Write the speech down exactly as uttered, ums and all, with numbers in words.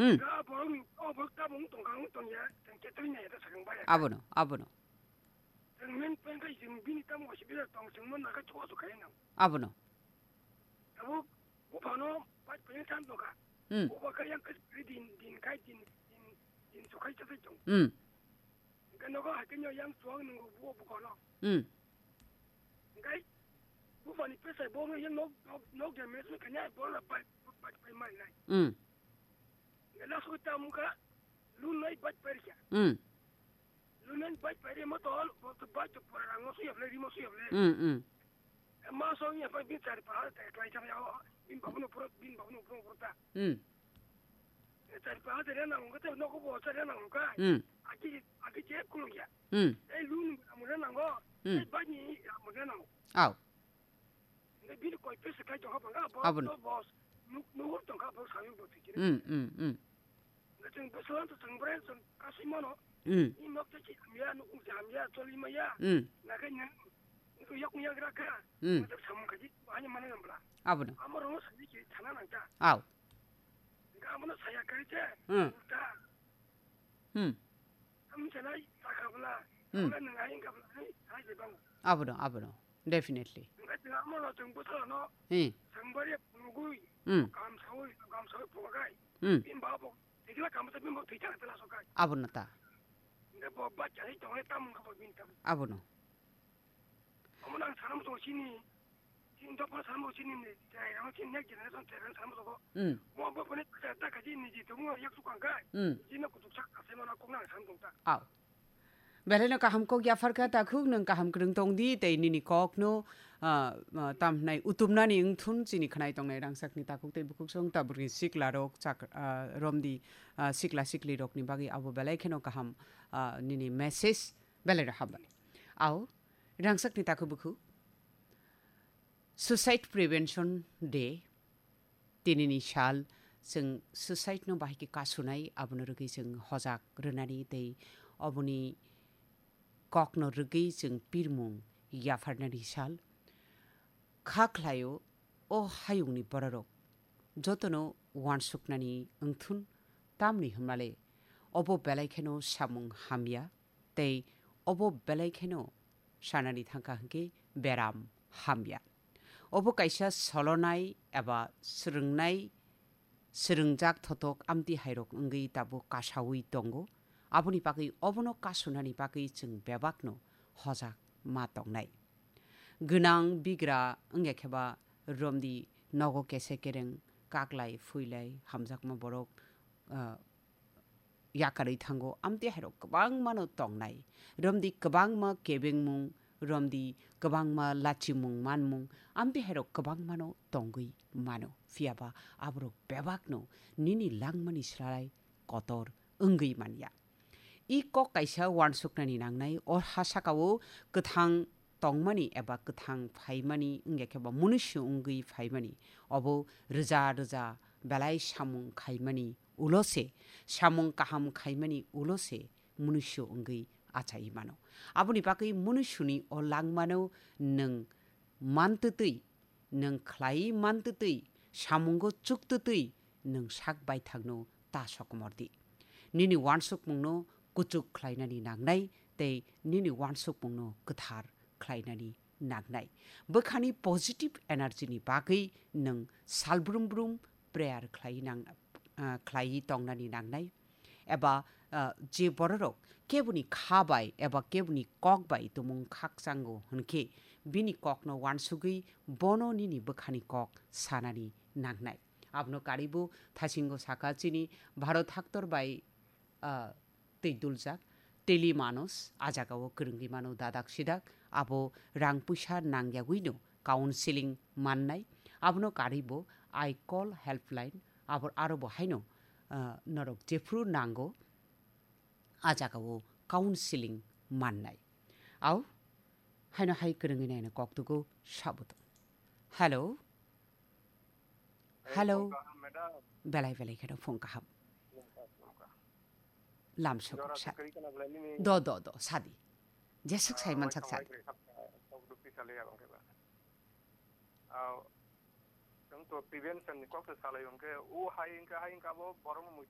Hmm. Ga borok ni, o borok tabung tongkha, wng tongya, tong ke twi nai ta sakang baya. Abono, abono. Tong men peng kai jing bini tamo si bila tong sing mon na ka chwa su kai nang. Abono. Abo, bo phano, pai peng san doka. Hmm. Bo ba ka yang ka din, din kai din, din, din su kai cha tong. Hmm. Hingke nogo hai khe yang chuwak nungo bo bukono. Hmm. Hingke bufani pesai bo no yang nok, nok, nok de mes kanya bo la bai, bai, bai mai nai. Hmm. Hingke last week ta muka lu nai bai pai kya. Hmm. Lu nai bai pai mo to, bo to bai to pora ngo su yap le, rimo su yap le. Hmm, hmm. Ma so ya pa bin chari pa ha te klai cham ya o. Bin babu no pro, bin babu no pro pro ta. Hmm. Chari pa ha te na ngong te no ko bo chari na ngong ka. Hmm. Aki, aki je kulung ya. Hmm. E lu ni amu na ngo. Hmm. E ba ni amu na ngo. Au. Ne bin koi pe se kai to ha ba ga bo. Abun. To boss. Nu, nu hur to ka bo sa yu bo ti. Hmm, hmm, hmm. Chwng bwswk to chwng bre chwng kasui mano. Hmm. Ni nok te ki hamya, nukung se hamya, choli maya. Hmm. Nakai nang. Nukung yak nyak ra ka. Hmm. Nang samung kaji, hanya mana yang bela. Abono. Amar rono sani ki thana nang ta. Au. Ga amano saya kai te. Hmm. Ta. Hmm. Am chalai, ta ka bela. Hmm. Bela nang ai ka bela, ai, ai de bang. Abono, abono. Definitely. Nang ai de amano chwng bwswk no. Hmm. Chwng bre nugui. Hmm. Kam saui, kam saui phogai. Hmm. Bin ba bo. Tikla kam ta bin bo twi ta ta so kai. Abono ta. Nde bo ba chai to he tam ko bin tam. Abono. Amo nang sanam to chini. Chin to pa sanam to chini ni. Chai amo chin next generation chai sanam to ko. Hmm. Mo bo bo ne ta ta ka ji ni ji to mo yak su kan kai. Hmm. Ji na ku tu chak ka se mo na ko nang sanam to ta. Au. Belai no kaham kok yaphar kha takhuk nwng kaham kwrwng tong di tei nini kok no, ah, ah, tam hwnai utumnani wngthun chini khwnai tongnai rangchak ni takhuk tei bukhuk song ta bwrwi sikla rok chak, ah, rom di, ah, sikla sikli rok ni bagwi abo belai kheno kaham, ah, nini message belai no hambai. Au rangchak ni takhuk bukhuk Suicide Prevention Day. Tinini sal chwng suicide no bahai khe kasunai, abono rwgwi chwng hojak rwnani tei oboni kokno rwgwi chwng pirmung yapharnani sal. Kha khlaio o hayungni bororok jotono uansuknani wngthun, tamni hwnmale obo belai kheno samung hamya. Tei obo belai kheno sanani thangkha hwnkhe beram hamya. Obo kaisa solonai eba swrwngnai, swrwngjak thotok amtwi hairok wngwi tabuk kasaui tongo. Aboni bagwi obono kasunani bagwi chwng bebakno hojak ma tongnai. Gwnang bigra wngya kheba romdi nogo kese kereng kaklai phuilai hamjakma borok, ah, yakarwi thango, amtwi hairok kwbangmano tongnai. Romdi kwbangma kebengmung, romdi kwbangma lachimung manmung, amtwi hairok kwbangmano tongwi mano. Phiyaba aborok bebakno nini langmani slai kotor wngwi manya. I kok kaisa uansuknani nangnai, o ha sakao kwthang tongmani eba kwthang phaimani wngya khe bo munusu wngwi phaimani. Obo rwja rwja belai samung khaimani ulo se, samung kaham khaimani ulo se munusu wngwi achai mano. Aboni bagwi munusuni o langmano nwng mantwtwi, nwng khlai mantwtwi, samungo chuktwtwi nwng sak baithangno ta sokomor di. Nini uansukmungno kuchuk khlainani nangnai tei nini uansukmungno kwthar khlainani nangnai. Bwkhani positive energy ni bagwi nwng salbrum brum prayer khlai nang, ah, khlaiwi tongnani nangnai. Eba, ah, je bororok keboni kha bai eba keboni kok bai tumung khakchango hwnkhe bini kokno uansugwi bono nini bwkhani kok sanani nangnai. Abono karibo thasingo saka chini Bharat haktor bai, ah, twi duljak teli manos a jagao kwrwngwi mano dadak sidak, abo rang puisa nangyagwino counseling mannai. Abono karibo I call helpline, abo aro bo haino, ah, norok jephru nango a jagao counseling mannai. Au, haino hai kwrwngwi naino koktugo sabuto. Hello? Hello? Phung kaham, madam. Belai belai kheno phung kaham. Phung kaham, phung kaham. Lam sokok sa. Jora se kwrwi kana belai nini. Do, do, do, sadi. Jesuk sai mansak sadi. Ah, wai thang wai kwrwi kha, sok dupi salai abang khe ba. Ah, Chwng to prevention ni kok se salai hwnkhe, o hai hwnkhe, hai hwnkhe abo borok no mui